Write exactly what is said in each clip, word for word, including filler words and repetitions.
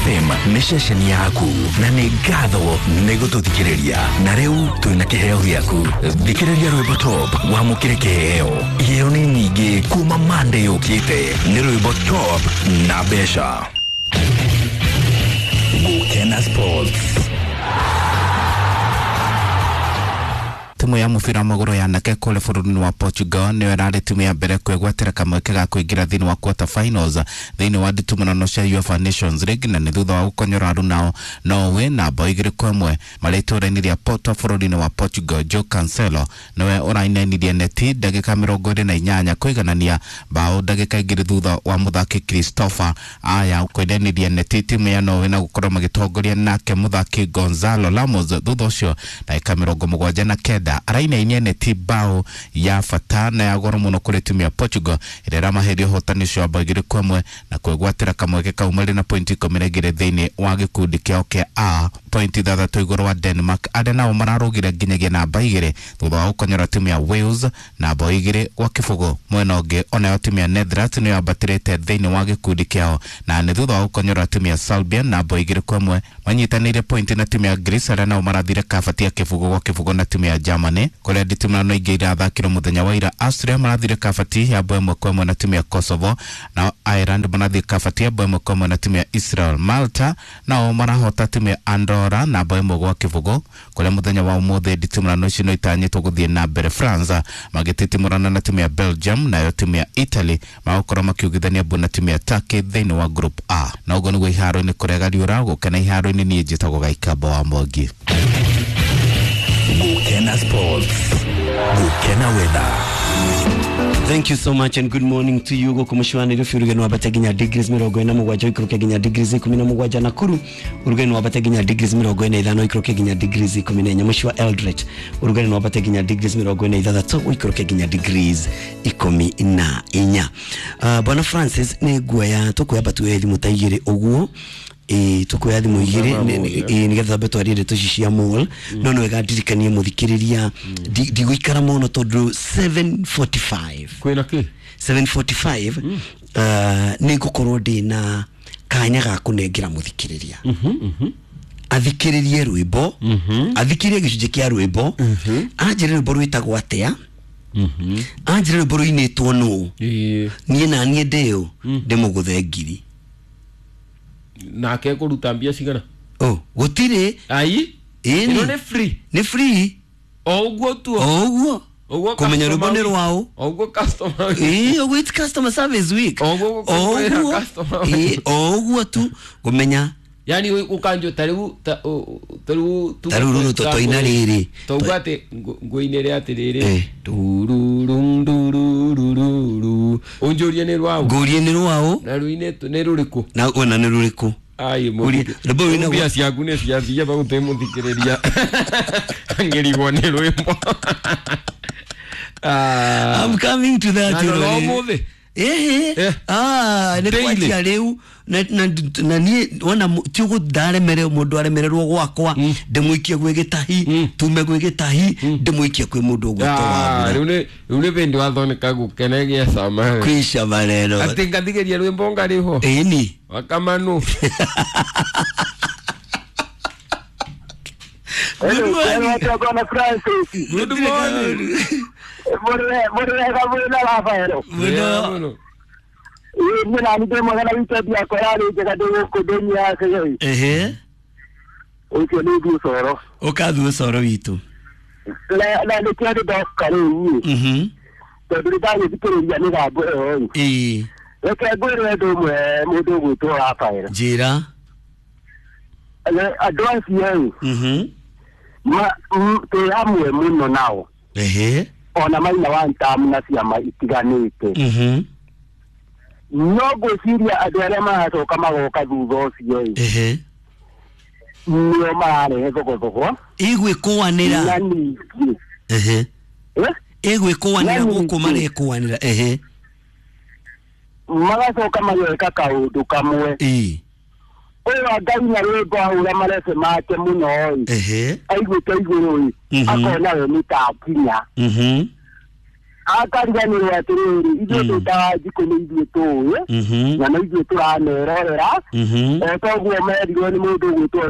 F M nĩ ceceni yaku na nĩ ngatho nĩ gũtũthikĩrĩria na rĩu twĩna kĩheo gĩaku. Thikĩrĩria rwĩmbo top wamũkĩre kĩheo. Iheo nĩ nyingĩ kuma Monday yũkĩte. Nĩ rwĩmbo top na mbeca. Gũkena Sports. Timu ya mũbira wa magũrũ ya anake kũrĩa bũrũri-inĩ wa Portugal nĩyo ĩrarĩ timu ya mbere kwĩgwatĩra kamweke ga kũingĩra thĩinĩ wa quarter finals thĩinĩ wa nditimũrano cia UEFA Nations League na nĩ thutha wa gũkonyora arunao Norway na bao igĩrĩ kwa ĩmwe marĩ itũũra-inĩ rĩa Porto bũrũri-inĩ wa Portugal. Joe Cancelo nĩwe ũrainainirie neti ndagĩka mĩrongo ĩrĩ na inyanya kũiganania bao ndagĩka igĩrĩ thutha wa mũthaki Christopher Aya kũinainiria neti timu ya Norway na gũkorwo magĩtongoria nake mũthaki Gonzalo Ramos. Thutha ũcio ndagĩka mĩrongo mũgwanja na kenda arainainia neti bao ya bata na ya goro mũno kũrĩ timu ya Portugal ĩrĩa ĩramaheria ũhotani ũcio wa bao igĩrĩ kwa ĩmwe na kwĩgwatĩra kamweke kau marĩ na pointi ikũmi na igĩrĩ thĩinĩ wa gĩkundi kĩao kĩa A, pointi ithathatũ igũrũ wa Denmark arĩa nao mararũgire nginyagia namba igĩrĩ thutha wa gũkonyora timu ya Wales na bao igĩrĩ gwa kĩbũgũ. Mwena ũngĩ onayo timu ya Netherlands nĩyo yambatĩrĩte thĩinĩ wa gĩkundi kĩao na nĩ thutha wa gũkonyora timu ya Serbia na bao igĩrĩ kwa ĩmwe manyitanĩire pointi na timu ya Greece arĩa nao marathire kabati ya kĩbũgũ gwa kĩbũgũ na timu ya Germany kũrĩa nditimũrano ingĩ irathakirwo mũthenya wa ira. Austria marathire kabati ya bao ĩmwe kwa ĩmwe na timu ya Kosovo, nao Ireland marathire kabati ya bao ĩmwe kwa ĩmwe na timu ya Israel. Malta nao marahota timu ya Andorra na bao ĩmwe gwa kĩbũgũ kũrĩa mũthenya wa ũmũthĩ nditimũrano icio no itanyĩtwo gũthiĩ na mbere. France magĩtitimũrana na timu ya Belgium, nayo timu ya Italy magũkorwo makiugithania mbu na timu ya Turkey thĩinĩ wa Group A. Na ũguo nĩguo iharo-inĩ kũrĩa gariũra gũkena iharo-inĩ. Niĩ njĩtagwo Gaikamba wa Mwangi. Gukena Sports. Gukena Weather. Thank you so much and good morning to you. Goko mushwani rufi urugeno wabate ginya degrees mirongo ina mugwanja ikoroke ginya degrees ikumi na mugwanja Nakuru urugeno wabate ginya degrees mirongo ina ithano ikoroke ginya degrees ikumi na inya mushwa Eldoret urugeno wabate ginya degrees mirongo ina ithathatu ikoroke ginya degrees ikumi na inya. Uh, Bwana Francis ni guoya tukuya batu elimu taigire uguo e tukuya thimu igiri nigetha mbe twarie ndeto ici cia mall no no wega ndirikanie muthikiriria ndigũikara mũno tondũ seven forty-five kwĩna kĩ seven forty-five nĩ ngũkorwo ndĩna kanya ga kũnengera mũthikĩrĩria athikĩrĩrie rwĩmbo athikĩrĩrie gĩcunjĩ kĩa rwĩmbo anjĩre rwĩmbo rwĩtagwo atĩa anjĩre rwĩmbo rũinĩtwo nũ niĩ na niĩ ndĩũ ndĩmũgũthe ngiri nake kũruta mbia cigana oh gũtirĩ ai ĩni nĩ free nĩ free o ũguo tu o ũguo kũmenya rwĩmbo nĩ rwaũ o ũguo customer ĩĩ ũguo it's customer service week o ũguo ĩĩ o ũguo tu kũmenya yani ukanjo tariu tariu tariu ruru totoina riri tauga ati nguinire atiriri tururung durururu unjurie ni rwao ngurie ni rwao na ruine ni ruriku na ona ni ruriku ai mu rwimbo ruina mbia ciaku ni ciathia bagute muthikiriria ngirigwo ni rwimbo. Ah, I'm coming to that. Na no ehe ah ne kwatia riu na na nie wona ti gudaremere mundu aremererwo gwakwa ndimuikie gwi gitahi tume gwi gitahi ndimuikie kwi mundu ugwitwo wa riu ni riu ni bindi wathoneka gukenegia cama kwi cama rero ati ngathigeria rwimbo ngariho ini wakamanu. Good morning. Good morning. Muno. Ehe. Ũkathuo coro witũ. Mhm. Ĩĩ. Njĩra. Mhm. Twĩ hamwe mũno nao. Ehe. Ona maina wa ntamu na ciama itiganĩte. Mhm. No ngwĩciria andũ arĩa maracoka magoka thutha ũcio ĩ. Ehe. Nĩo mararehe thogothogo. Ĩgwĩkũanĩra. Na ningĩ. Ehe. Ĩgwĩkũanĩra gũkũ marekũanĩra. Ehe. Magacoka mageka kaũndũ kamwe. Ĩĩ. Ũyũ Ngai na rwĩmbo ahũra marebe make mũno ĩ. Ehe. Aiguĩte igũrũ ĩ. Akona we nĩ ta akinya. Mhm. Akariganĩrwo atĩrĩrĩ, ithuĩ twĩtaga njikũ nĩ ithuĩ tũĩ Mhm. na nĩ ithuĩ tũramerorera. Mhm. O toguo merirwo nĩ mũndũ ũgwĩtwo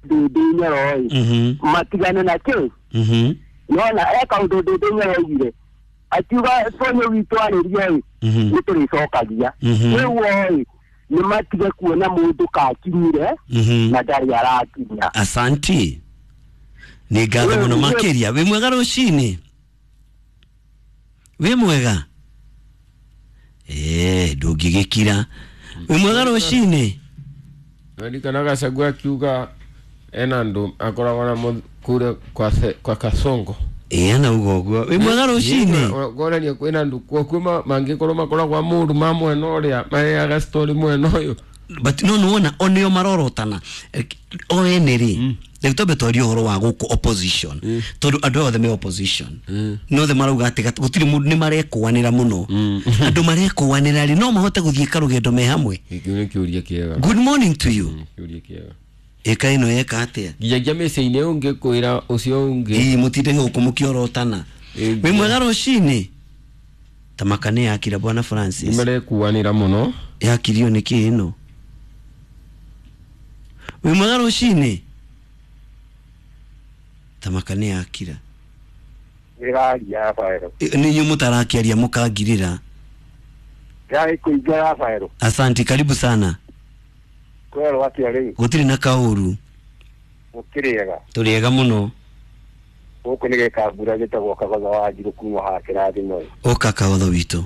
Ndĩndĩ Nyoro-ĩ, Mhm. matigane na kĩ. Mhm. Nona e kaũndũ Ndĩndĩ Nyoro oigire, akiuga Sonyo witũ arĩrie-ĩ, Mhm. nĩ tũrĩcokagia. Mhm. Rĩu o-ĩ, nĩ matige kuona mũndũ kakinyire Mhm. na ndarĩ arakinya. Asanti, nĩ ngatho mũno makĩria. Wĩ mwega rũcinĩ? Wĩ mwega? Ĩĩ, ndũngĩgĩkira. Wĩ mwega rũcinĩ? Ndirikana Gachagua akiuga ena andũ akoragwo na mũth- kũrĩa kwa se- kwa Kasongo. Ĩĩ, anauga ũguo. Wĩ mwega rũcinĩ? Kuonania kwĩna andũ kuo kwĩ ma- mangĩkorwo makoragwo a mũndũ ma mwena ũrĩa mareaga story mwena ũyũ. But no nĩwona o nĩo marorotana o ene rĩ. Rĩu twambe twarie ũhoro wa gũkũ opposition, tondũ andũ aya othe me opposition nĩ othe marauga atĩ gat- gũtirĩ mũndũ, nĩ marekũanĩra mũno. Andũ marekũanĩra rĩ, no mahote gũthiĩ karũgendo me hamwe? Gĩkĩ nĩ kĩũria kĩega. Good morning to you. Kĩũria kĩega. Ĩka ĩno yeka atĩa? Nginyagia mĩciĩ-inĩ ũngĩ kwĩra ũcio ũngĩ. Ĩĩ, mũtinde gũkũ mũkĩorotana. Ĩĩ. Wĩ mwega rũcinĩ? Tamaka nĩ yakira, bwana Francis. Nĩ marekuanĩra mũno. Yakirio nĩ kĩ ĩno? Wĩ mwega rũcinĩ? Tamaka nĩ yakira. Ndĩraria, Rafaelo. Ĩ, nĩ inyuĩ mũtarakĩaria mũkangirĩra. Ndĩrarĩ kũingĩ, Rafaelo. Asanti, karibu sana. Kwerwo atĩa rĩu? Gũtirĩ na kaũru. Gũkĩrĩega? Tũrĩega mũno. Gũkũ nĩ gĩkambura gĩtagwo Kagotho wa Njirũ kuma haha kĩrathimo. Ũka Kagotho witũ.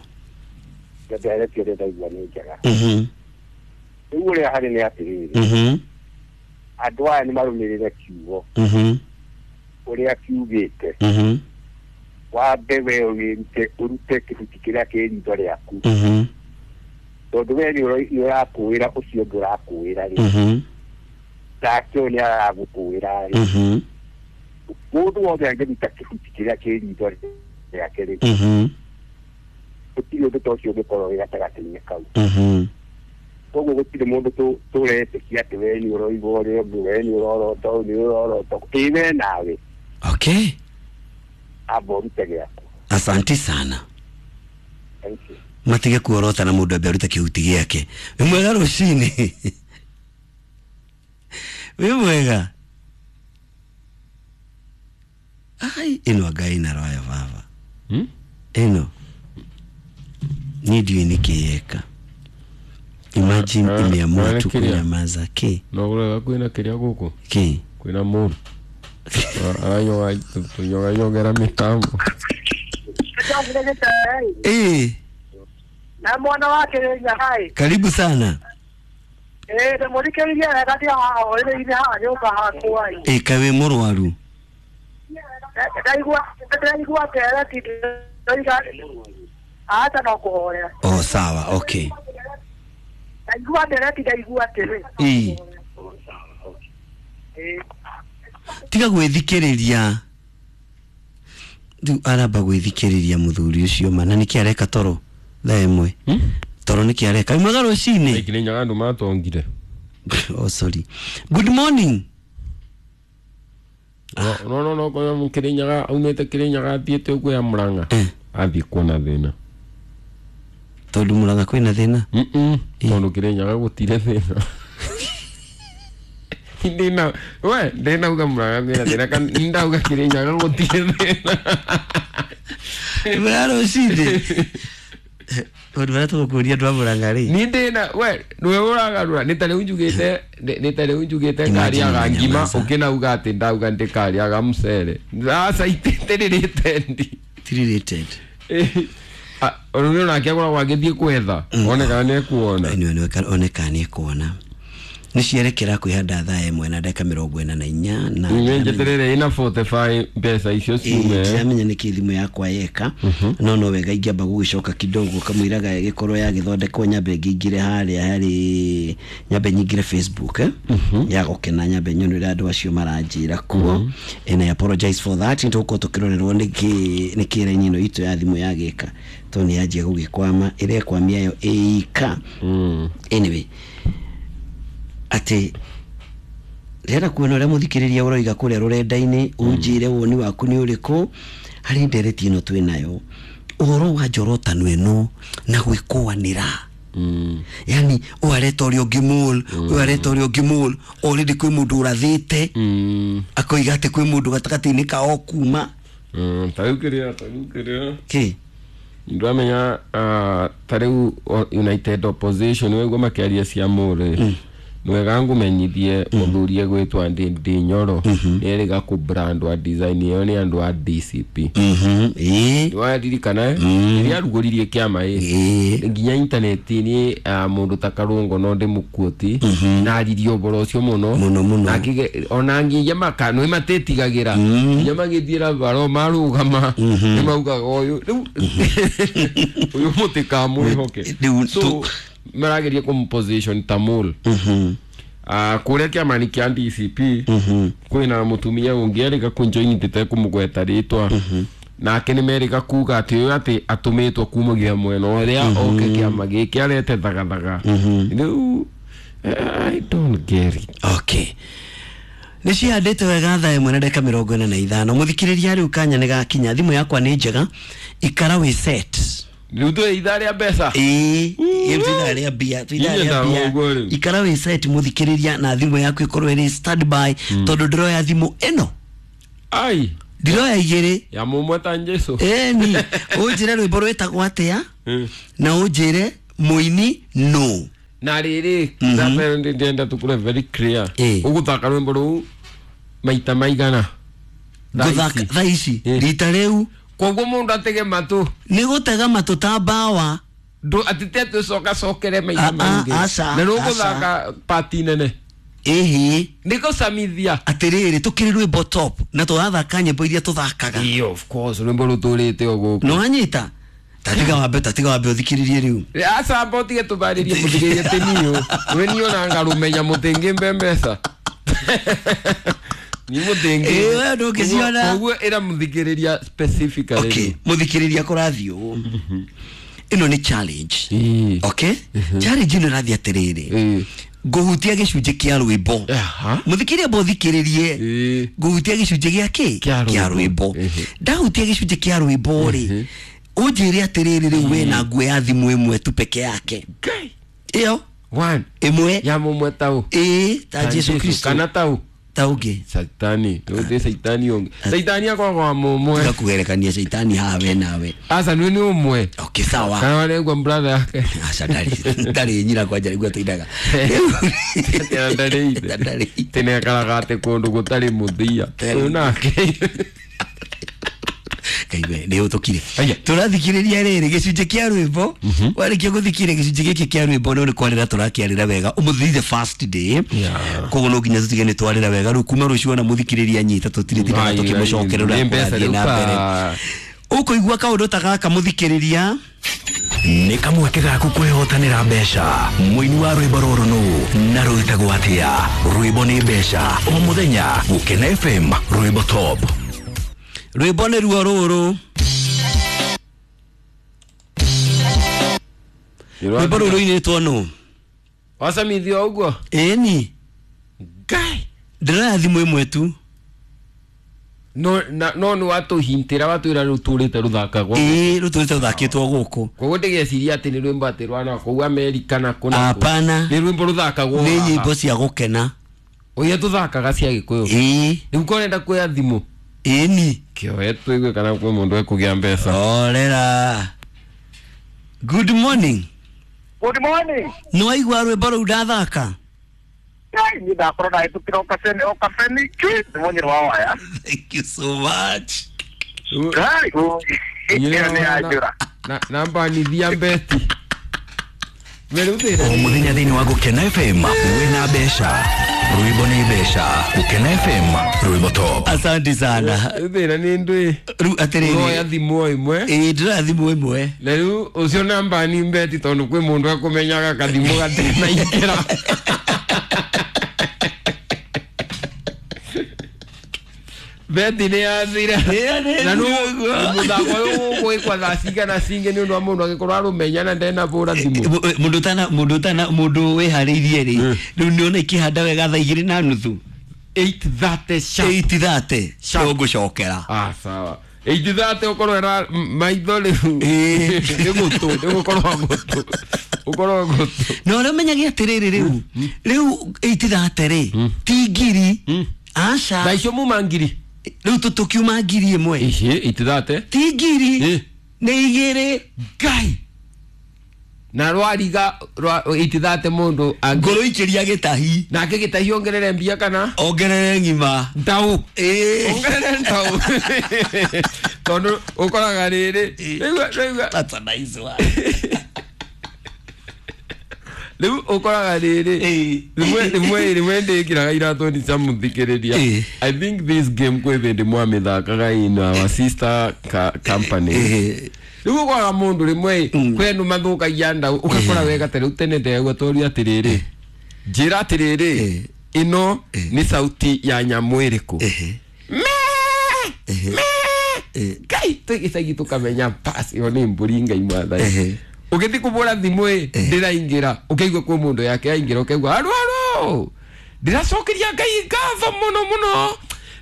Ndenderetie ũrĩa ndaigua nĩ njega. Mhm. Rĩu ũrĩa harĩ nĩ atĩrĩrĩ, Mhm. andũ aya nĩ marũmĩrĩre kiugo Mhm. ũrĩa kiugĩte. Mhm. Wambe we wĩrute, ũrute kĩbuti kĩrĩa kĩ ritho rĩaku, Mhm. tondũ we nĩ ũro- nĩ ũrakũĩra ũcio ũngĩ ũrakũĩra rĩ, Mhm. nake ũyũ nĩ aragũkũĩra rĩ. Mhm. Mũndũ wothe angĩruta kĩbuti kĩrĩa kĩ ritho rĩake rĩ, Mhm. gũtirĩ ũndũ ta ũcio ũngĩkorwo wĩ gatagatĩ-inĩ kau. Mhm. Koguo gũtirĩ mũndũ tũ- tũretĩkia atĩ we nĩ ũroigua ũrĩa ũngĩ, we nĩ ũrorota ũyũ, nĩ ũrorota ĩ we nawe. Okay. Amba ũrute gĩaku. Asanti sana. Thank you. Matige kuorota na mũndũ ambe arute kĩhuti gĩake. Wĩ mwega rũcinĩ? Wĩ mwega? Ai, ĩno anga ĩna roya baba. Hmm? Ĩno niĩ ndiũĩ nĩkĩ yeka. Imagine, Ah, imeamua ah, tu kĩrĩa? kunyamaza kĩ. No kũrega kwĩna kĩrĩa gũkũ. Kĩ? Kwĩna mũndũ aranyoga tũnyoganyogera mĩtambo. Ĩĩ. Na mwana wake Nyakai. Karibu sana. Eh, ndĩmũthikĩrĩrie wega ndĩ haha hũrĩrĩ-inĩ haha nyũmba hakwa ĩ. Ĩ, kaĩ wĩ mũrwaru? Ndaigua ndaigua ndereti ndoiga acha no kũhorera. Oh, sawa, okay. Ndaigua ndereti ndaigua atĩrĩ. Ĩĩ. Ĩ. Tiga gwĩthikĩrĩria rĩu, aramba gwĩthikĩrĩria mũthuri ũcio ma na nĩkĩ areka toro thaa ĩmwe toro, nĩkĩ areka? Wĩ mwega rũcinĩ? Kĩrĩnyaga andũ matongire. Oh, sorry, good morning. No no no koyo Kĩrĩnyaga aumĩte Kĩrĩnyaga athiĩte ũguo ya Mũrang'a. Eh. Athiĩ kuona thĩna. Tondũ Mũrang'a kwĩna thĩna? Mm-mm. Tondũ Kĩrĩnyaga gũtirĩ thĩna. Ndina we ndinauga Mũrang'a kwĩna thĩna kana ndauga Kĩrĩnyaga gũtirĩ thĩna. Wĩ mwega rũcinĩ? Tondũ marĩa tũgũkũria andũ a Mũrang'a rĩ. Ni ndina we nĩwe ũragarũra, nĩ ta rĩu njugĩte, nĩ ta rĩu njugĩte ngarĩaga Imagine ngima. nyamaza. Ũkĩnauga atĩ ndauga ndĩkarĩaga mũcere, aca itĩrĩrĩte ndi. Three rated. Ũrũme onake akoragwo agĩthiĩ kwetha one kana nĩ ekuona. Anyway, one kana nĩ ekuona nĩ cierekera kwĩhanda thaa ĩmwe na ndagĩka mĩrongo ĩna na inya na Nĩ njeterere ĩna mĩrongo ĩna na ithano mbeca icio ciume. Ndiramenya nĩkĩ thimũ yakwa yeka, no no wega ingĩamba gũgĩcoka kidogo kamũiraga ĩgĩkorwo yagĩthondekwo, nyambe ngĩingĩre harĩa harĩ, nyambe nyingĩre Facebook, eh? Ya gũkena, nyambe nyone ũrĩa andũ acio maranjĩra kuo, and I apologize for that. Nĩ tũgũkorwo tũkĩrorerwo nĩkĩ nĩkĩ raini ĩno itũ ya thimũ yagĩka, tondũ nĩ yanjia gũgĩkwama, ĩrekwamia yo ĩika. Anyway, atĩ ndĩrenda kuona ũrĩa mũthikĩrĩria ũroiga kũrĩa rũrenda-inĩ, ũnjĩre woni waku nĩ ũrĩkũ harĩ ndereti ĩno twĩ nayo. Ũhoro wa njorotano ĩno na gwĩkũanĩra. Mm. Yani ũyũ areta ũrĩa ũngĩ mole, ũyũ areta ũrĩa ũngĩ mole, already kwĩ mũndũ ũrathĩte Mm. akoiga atĩ kwĩ mũndũ gatagatĩ-inĩ kao kuma Mm. Ta rĩu kĩrĩa ta rĩu kĩrĩa kĩ ndamenya uh, ta rĩu o- United Opposition weguo makĩaria cia mũrĩ nĩ wega ngũmenyithie mũthuri egwĩtwo Ndindi Nyoro nĩerĩga kũbrandwa design ĩyo nĩ andũ a D C P. Mhm, ĩĩ Nĩwaririkana rĩrĩa arugũririe kĩama ĩ ĩĩ nginya intaneti-inĩ ah, mũndũ ta Karũngo no ndĩmũkuoti na aririe ũboro ũcio mũno Mũno, mũno. Na akĩge- ona nginya maka nĩ matĩtigagĩra nginya magĩthiĩra baro marũgama nĩ maugaga ũyũ rĩu ũyũ mũtĩkamwĩhoke Rĩu so tu- marageria kũmposition ta mole. Mhm, Ah, kũrĩa kĩama-inĩ kĩa D C P mhm. kwĩna mũtumia ũngĩ erĩga kũnjoini tĩtekũmũgweta rĩtwa nake nĩ merĩga kuga atĩ ũyũ atĩ atũmĩtwo kumagia mwena ũrĩa oke kĩama gĩkĩ arete thagathaga rĩu I don't get it. Okay, nä cihandä wega thaa ĩmwe na ndagĩka mĩrongo ĩna na ithano. Mũthikĩrĩria, rĩu kanya nĩ gakinya, thimũ yakwa nĩ njega, ikara wĩ set. Rĩu twĩ ithaa rĩa mbeca. Ĩĩ, ĩĩ, twĩ ithaa rĩa mbia, twĩ ithaa Inyuĩ rĩa mbia. ũguo rĩu. Ikara wĩ set mũthikĩrĩria, na thimũ yaku ĩkorwo ĩrĩ standby tondũ ndĩroya thimũ ĩno. Ai. Ndiroya igĩrĩ. Ya mũmwe ta Jesu. Ĩni ũnjĩre rwĩmbo rwĩtagwo atĩa Mm. na ũnjĩre mũini no. Na rĩrĩ ndapere ndĩrenda tũkũre very clear. Ĩĩ. Ũgũthaka rwĩmbo rũu maita maigana Thaa Gũthaka ici. thaa ici Ĩĩ. rita rĩu. Koguo mũndũ atege matũ. Nĩ gũtega matũ ta mbawa. Ndũ atite twĩcokacokere maita Ah, ah, maingĩ aca, na nĩũgũthaka pati nene. Ĩhĩ. Nĩgũcamithia. Atĩrĩrĩ, tũkĩrĩ rwĩmbo top na tũrathaka nyĩmbo iria tũthakaga. Ĩĩ, of course rwĩmbo rũtũrĩte o gũkũ. Nĩ wanyita, tatiga wambe tatiga wambe ũthikĩrĩrie rĩu. Acamba ũtige tũbarĩrie mũthikĩrĩrie tĩniũ we niĩ ona ngarũmenya mũtĩngĩ mbeca ni mũtĩngĩ. Ĩĩ, we ndũngĩciona. Koguo ĩra mũthikĩrĩria specifically. Okay, mũthikĩrĩria, kũrathiĩ ũũ, ĩno nĩ challenge. Ĩĩ. Okay, challenge ĩno ĩrathiĩ atĩrĩrĩ, Ĩĩ. ngũhutia gĩcunjĩ kĩa rwĩmbo. Aha. Mũthikĩrĩria, mbo ũthikĩrĩrie. Ĩĩ. Ngũhutia gĩcunjĩ gĩa kĩ? Kĩa rwĩmbo. Kĩa rwĩmbo. Ĩhĩ. Ndahutia gĩcunjĩ kĩa rwĩmbo rĩ, ũnjĩre atĩrĩrĩ, rĩu wĩna nguo ya thimũ ĩmwe tu peke yake. Ngai. Ĩyo One. ĩmwe. Ya mũmwe tau. Ĩĩ, ta Jesu Kristo. Kana tau. Ta ũngĩ. Saitani rĩu saitani ũngĩ saitani akoragwo wa mũmwe. Tiga kũgerekania caitani haha we nawe. Aca nĩ nĩ ũmwe. Okay, sawa. Kana waregua brother yake. Aca, ndarĩ ndarĩ nyina kwanja nĩguo tũinaga. Tena ndarĩ ithe. Ndarĩ ithe. Tene akaraga atĩ kũndũ gũtarĩ mũthia ũyũ nake. Kaiwe nĩ ũtũkire. Aya. Tũrathikĩrĩria rĩrĩ gĩcunjĩ kĩa rwĩmbo. Warĩkia gũthikĩrĩria gĩcunjĩ gĩkĩ kĩa rwĩmbo, no nĩ kwarĩra tũrakĩarĩra wega ũmũthĩ, the first day. Yeah. Koguo no nginya tũtige nĩ twarĩra wega rĩu kuma rũciũ ona mũthikĩrĩria nyita tũtirĩ Ai, tũkĩmũcokerera ai, nĩ mbeca ũrĩa rĩu kũrathiĩ na mbere. ta- Ũkũigua kaũndũ ta gaka mũthikĩrĩria. Nĩ kamweke gaku kwĩhotanĩra mbeca. Mũini wa rwĩmbo rũrũ nũ na rwĩtagwo atĩa? Rwĩmbo nĩ mbeca o mũthenya Gũkena F M rwĩmbo top. Rwĩmbo nĩ ruo rũrũ. Rwĩmbo rũrũ rũinĩtwo nũ? Wacamithio ũguo. Ĩni. Ngai. Ndĩroya thimũ ĩmwe tu. No na no nĩ watũhintĩra watwĩra rũtũrĩte rũthakagwo. Ĩĩ, rũtũrĩte rũthakĩtwo gũkũ. Koguo ndĩgeciria atĩ nĩ rwĩmbo atĩ rwa kũu Amerika na kũ na kũ. Hapana. Nĩ rwĩmbo rũthakagwo Nĩ haha. nyĩmbo cia gũkena. Ũrĩa tũthakaga cia Gĩkũyũ. Ĩĩ. Rĩu korenda kuoya thimũ. Ĩni. Kĩoe tũigue kana kwĩ mũndũ ekũgĩa mbeca. Orera, good morning. Good morning. Nĩ waigua rwĩmbo rũu ndathaka? Ai, ni ndakorwo ndahĩtũkĩra o kabene o kabene ki nĩ mũnyĩrĩ wa waya. Thank you so much. Ai, ĩyo nĩ yanjũra. Na namba nithia mbeti. O mũthenya thĩinĩ wa Gũkena F M wĩna mbeca. Rwĩmbo nĩ mbeca. Gũkena F M rwĩmbo top. Asante sana. Thĩna nĩ ndwĩ. Rĩu Ũroya atĩrĩrĩ, thimũ o ĩmwe. ĩĩ, ndĩroya thimũ ĩmwe. Na rĩu ũcio namba ni mbeti tondũ kwĩ mũndũ ekũmenyaga kathimũ gatenaingĩra. Beti nĩ yathira. Na nũ mũthako ũyũ ũgwĩkwa thaa cigana cingĩ nĩ ũndũ wa mũndũ angĩkorwo arũmenya na ndenabũra thimũ. Mũndũ tana mũndũ tana mũndũ wĩharĩirie rĩ, rĩu nĩona ikĩhanda wega thaa igĩrĩ na nuthu. eight thirty sharp. eight thirty Sharp. ngũcokera. Ah, sawa. Ĩitithate ũkorwo ĩra maitho rĩu nĩ gũtũ, nĩ gũkorwo gũtũ, ũkorwo gũtũ. Na ũrĩa ũmenyage atĩrĩrĩ, rĩu rĩu ĩitithate rĩ ti ngiri, aca. Thaa icio muma ngiri. Rĩu tũtũkiuma ngiri ĩmwe. Ici itithate ti ngiri, Eh. nĩ igĩrĩ. Ngai na rwariga rwa itithate mundu angĩ Ngũrũikĩria gĩtahi. Nake gĩtahi ongerere mbia kana ongerere ng'ima. Ndau. Ĩĩ. Ongerere ndau, tondu ũkoraga rĩrĩ rĩu rĩu That's a nice one. Rĩu ũkoraga rĩrĩ Ĩĩ. rĩmwe rĩmwe rĩmwe ndĩkĩraga iratũ nĩ cia mũthikĩrĩria. Ĩĩ. I think this game kwĩ hĩndĩ mwamĩthakaga in our sister ca company. Ĩĩ. Rĩu ũkoraga mũndũ rĩmwe kwĩ andũ mathũkagia ndau, ũgakora wega ta rĩu tene ndegua toria atĩrĩrĩ, njĩra atĩrĩrĩ, Ĩĩ. ĩno nĩ sauti ya nyamũ ĩrĩkũ? Ĩhĩ. Mee, mee. Ngai, twĩ gĩcagi tũkamenya bas ĩyo nĩ mbũri. Ngai mwathani. Ehe. Ũgĩthiĩ kũbũra thimũ ĩ ndĩraingĩra, ũkaigua kwĩ mũndũ yake yaingĩra, ũkaigua aru aru, ndĩracokeria Ngai ngatho mũno mũno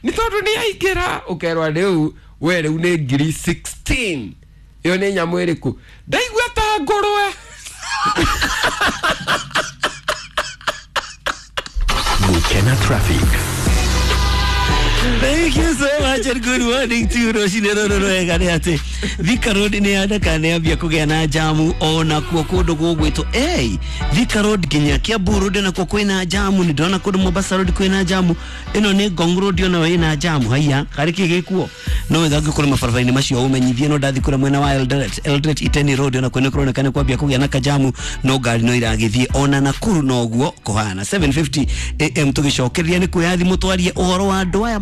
nĩ tondũ nĩ yaingĩra. Ũkerwa rĩu we rĩu nĩ ngiri sixteen. Ĩyo nĩ nyamũ ĩrĩkũ? Ndaigua ta ngũrwe. Gukena traffic. Thank you so much and good morning to you. Rũcinĩ rũrũ rwega nĩ atĩ Thika Road nĩ yandaka nĩ yambia kũgĩa na jamu ona kuo kũndũ gũgwĩtwo hey, Thika Road nginya Kiambu Road nakuo kwĩna jamu. Nĩ ndĩrona kũndũ Mombasa Road kwĩna jamu. Ĩno nĩ Ngong Road, onayo ĩna jamu. Haiya, karĩ kĩ gĩkuo no wega ngĩkorwo mabarabara-inĩ macio ũmenyithie. No ndathi kũrĩa mwena wa Eldoret, Eldoret Iten Road ona kwene kũroneka nĩ kwambia kũgĩa na kajamu, no ngari no iragĩthiĩ. Ona Nakuru noguo kũhana. seven fifty A M tũgĩcokereria nĩ kuoya thimũ twarie ũhoro wa andũ aya.